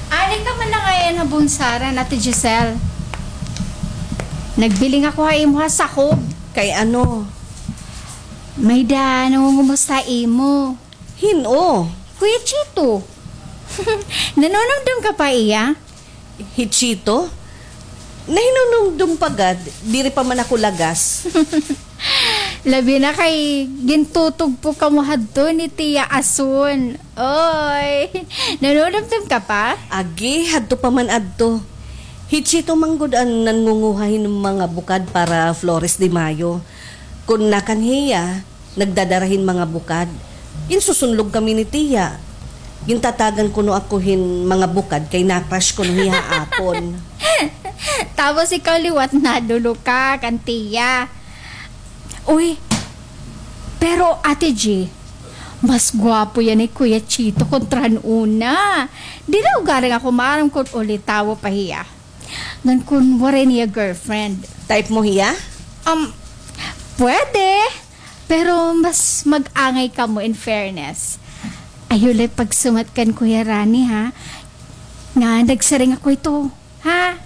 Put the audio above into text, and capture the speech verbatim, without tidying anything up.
Ari ka man la ngay-an ha bunsaran, Ate Giselle. Nagbiling ako ha imo ha sakob. Kay ano? May-ada nangungumusta ha imo. Hin-o? Kuya Chito. Nanunumdom ka pa ha iya? Hi Chito? Nahinunumdom pa gad, diri pa man ako lagas. Labi na kay gintutugpo kamo hadto ni Tia Asun. Oy, nanunumdom ka pa? Agi, hadto pa man adto. Hi Chito man gud an nangunguha hin mga bukad para Flores de Mayo. Kun nakanhi hiya, nagdadara hin mga bukad. Ginsusunlog kami ni Tia. Gintatagan kuno ako hin mga bukad kay na-crush kuno hiya ha akon. Tapos ikaw liwat nadolo ka kan Tia. Uy, pero Ate G, mas gwapo yana hi Kuya Chito kontra han una. Diri ugaring ako maaram kon ulitawo pa hiya. Ngan kon waray niya girlfriend. Type mo hiya? Um, pwede. Pero mas mag-angay kamo, in fairness. Ayaw la pagsumat kan Kuya Rani, ha? Nga nagsiring ako hito, ha?